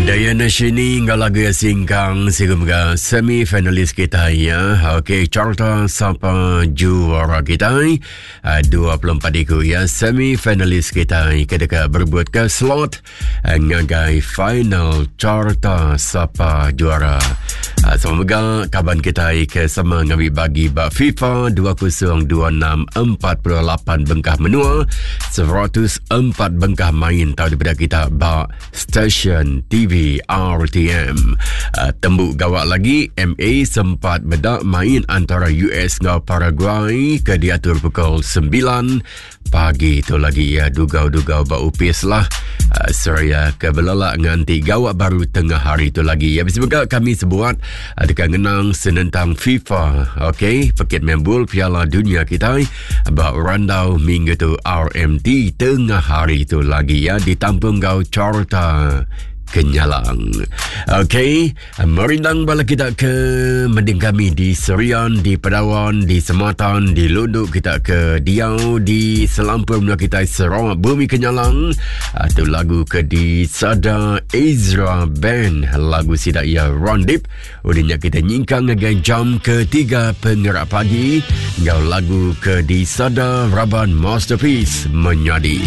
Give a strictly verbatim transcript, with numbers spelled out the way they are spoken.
Diana Shini enggau lagu ya Singkang sehingga semi finalis kita ya. Okey, carta sapa juara kita uh, dua puluh empat iku ya semi finalis kita ke deka berebut ke slot uh, ngagai final carta sapa juara. Uh, semoga kaban kita ke sama ngambil bagi ba FIFA dua ribu dua puluh enam, empat puluh lapan bengkah menua, seratus empat bengkah main tau daripada kita ba stesen T V R T M. Uh, tembuk gawak lagi M A sempat bedak main antara U S ngau Paraguay ke diatur pukul sembilan pagi itu lagi ya, dugau-dugau ba upis lah. Uh, seraya ke belelak nganti gawak baru tengah hari itu lagi ya. Semoga kami sebuat uh, dekat ngenang senentang FIFA, okey, pekit membul Piala Dunia kita ba randau minggu tu R M T tengah hari itu lagi ya, ditampung gau carta Kenyalang. Okey, merindang bala kita ke mending kami di Serian, di Padawan, di Sematan, di Lunduk, kita ke Diau, di Selampur menua kita Sarawak, Bumi Kenyalang. Atau lagu ke di Sada Ezra Band, lagu sidak ya Rondip. Udahnya kita nyingkang ngagai jam ketiga pengerak pagi. Ngau lagu ke di Sada Raban Masterpiece Menyadi.